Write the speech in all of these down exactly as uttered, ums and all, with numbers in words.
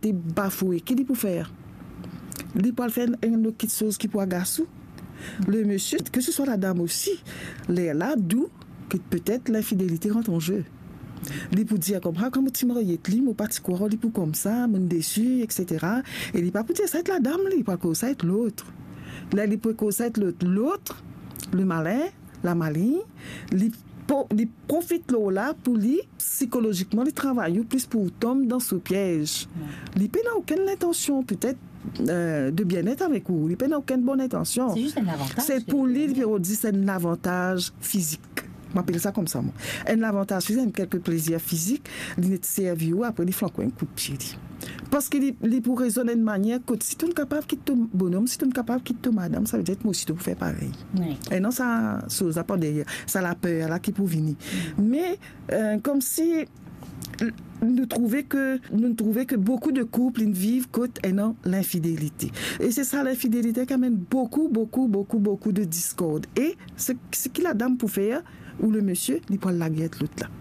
te bafoue, ki li pou fer? Li pou al fer enn, enn lot kiksoz ki pou agas ou. Le misie, ke se swa ladam osi, lerla dou ke petet linfidelite rant an ze. Li pou dir koumsa, kan mo ti marye ek li, mo pa ti krwar li pou koumsa, mo'nn desi, et cetera. E li pa pou dir sa ek ladam, li pou koz sa ek lot. La, li pou koz sa ek lot. Lot, le malin, lamalin, li po-, li profit lor la pou li, sikolozikman, li travay ou plis pou ou tom dan so piez. Li pena okenn lintansion, petet, euh, de bienet avek ou. Li pena okenn bon lintansion. Se zis enn lavantaz. Se pou li, li pe dir se enn lavantaz fizik. Mo apel sa koumsa, mwa. Enn lavantaz fizik, enn kelke plezir fizik, li net servi ou, apre li flank ou enn kout pie, li. Parski li, li pou rezonn enn manier kot si to'nn kapav kit to bonom, si to'nn kapav kit to madam, savedir mwa osi to pou fer parey. Wi. E non, sa, soz la par deryer, sa laper la ki pou vini. Me, euh, koumsi, nou trouve ke, nou trouve ke boukou de koup, inn viv kot ena linfidelite. E se sa, linfidelite ki amenn boukou, boukou, boukou, boukou de diskord. E se, seki ladam pou fer, ou le misie, li pou al lager ek lot la.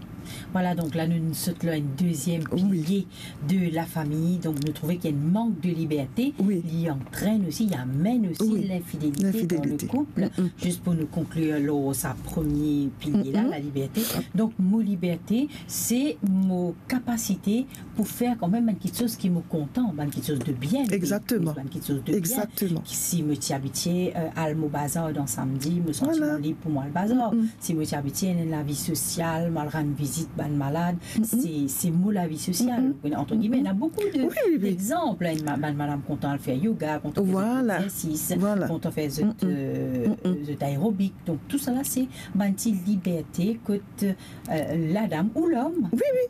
Vwala, donk la, nou, nou sot lor enn deziem pilie de lafami. Donk, nou trouve ki ena enn mank de liberte. Wi. Li antrenn osi, li amenn osi linfidelite dan le koup. Linfidelite. Zis pou nou konklir lor sa premie pilie la, laliberte. Donk, mo liberte, se mo kapasite pou fer kanmem bann kiksoz ki mo kontan, bann kiksoz de bien, bann kiksoz de bien. Egzakteman. Ki si mo ti abitie, euh, al mo bazar dan samdi, mo santi mo lib pou mo al bazar. Si mo ti abitie ena enn lavi sosial, mo al rann vizit bann malad, se, se mo lavi sosial. Ou kone, antre gime, ena boukou de, dexanp, hein, ma-, bann madam kontan al fer yoga, kontan fer zot exersis, kontan fer zot, euh, zot aerobik. Donk, tousala, se bann ti liberte kot euh, ladam ou lom,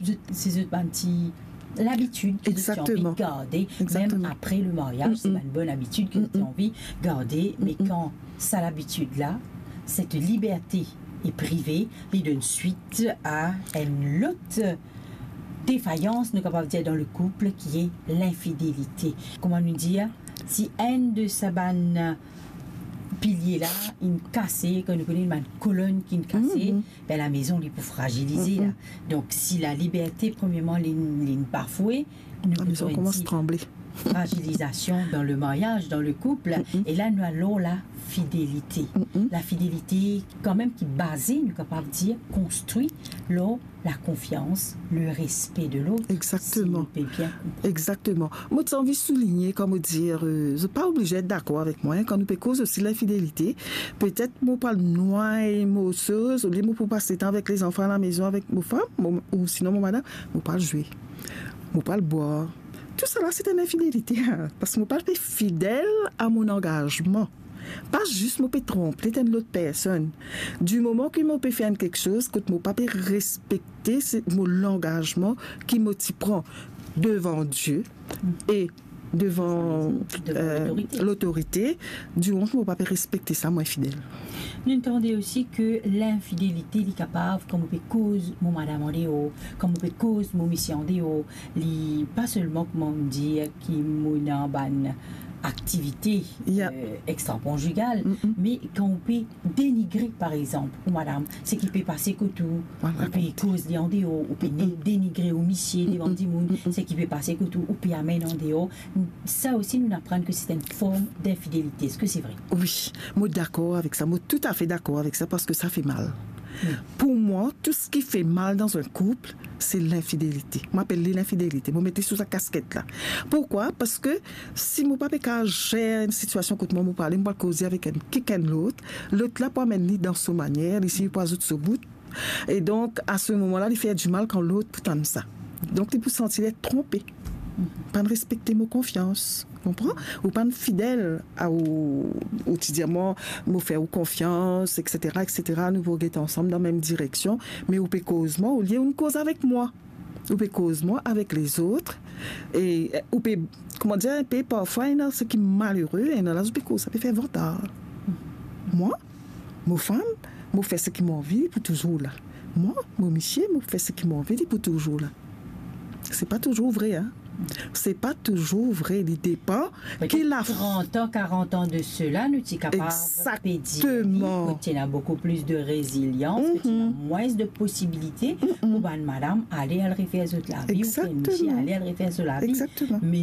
zot, se zot bann ti labitid ki zot ti anvi garde, mem apre le maryaz, se bann bon labitid ki zot ti anvi garde, me kan sa labitid la, set liberte e prive, li donn swit a enn lot defayans, nou kapav dir, dan le koup, ki e linfidelite. Kouma nou dir, si enn de sa bann pilie la inn kase, kan nou kone bann kolonn ki inn kase, be lamezon li pou frazilize la. Donk, si laliberte, premierman, li, li bafoue, nou lamezon koumans tranble. Frazilizasion dan le maryaz, dan le koup, e la nou al lor lafidelite. Lafidelite, kanmem, ki baze, nou kapav dir, konstri lor lakonfians, le respe de lot. Egzakteman. Si nou pe bien konpran. Egzakteman. Mo ti anvi souligne, kan mo dir, euh, zot pa oblize et dakor avek mwa, hein, kan nou pe koz osi linfidelite, petet mo pou al nway mo soz, olie mo pou pas letan avek lezanfan alamezon avek mo fam, mo, ou sinon mo madam, mo pou al zwe, mo pou al bwar. Tousala se enn linfidelite, hein, parski mo pa pe fidel a mo langazman. Pa zis mo pe tronp enn lot personn. Di moman ki mo pe fer enn kiksoz kot mo pa pe respekte se, mo langazman ki mo ti pran devan Die e devan, devan, euh, lotorite, lotorite, di moman ki mo pa pe respekte sa, mo infidel. Nou tande osi ke linfidelite, li kapav, kan mo pe koz mo madam andeor, kan mo pe koz mo misie andeor, li pa selman, kouma nou dir, ki mo ena bann aktivite, euh, extrakonjigal, me kan ou pe denigre, par exanp, ou madam, seki pe pase kot ou, ou pe koz li andeor, ou pe ne-, denigre ou misie devan dimoun, seki pe pase kot ou, ou pe amenn andeor. Sa osi, nou aprann ke se enn form linfidelite. Eski se vre? Wi, mo dakor avek sa, mo toutafe dakor avek sa, parski sa fer mal. Pou mwa, tou seki fer mal dan enn koup, se linfidelite. Mo apel li linfidelite. Mo met li sou sa kasket la. Poukwa? Parski si mo pa pe kapav zer enn sitiasion kot mwa, mo pou ale, mo pou al koze avek enn kikenn lot, lot la pou amenn li dan so manier, li si pou azout so bout. E donk, a se moman la, li fer dimal kan lot pou tann sa. Donk, li pou santi li tronpe. Pa'nn respekte mo konfians. Konpran? Ou pa'nn fidel a ou, ou ti dir mwa, mo fer ou konfians, et cetera, et cetera, nou pou get ansam dan mem direksion, me ou pe koz mwa, olie ou'nn koz avek mwa. Ou pe koz mwa avek lezot, e, e, ou pe, kouma dir, pe parfwa, ena seki malere, ena la, ou pe koz sa, pe fer vantar. Mwa, mo fam, mo fer seki mo anvi, li pou touzour la. Mwa, mo misie, mo fer seki mo anvi, li pou touzour la. Se pa touzour vre, hein. Se pa touzour vre, li depan ki la trant an, karant an de sela, nou ti kapav pe dir li, kot ti ena boukou plis de rezilians, kot ti ena mwins de posibilite pou bann madam ale al refer zot lavi, oubien misie ale al refer zot lavi. Me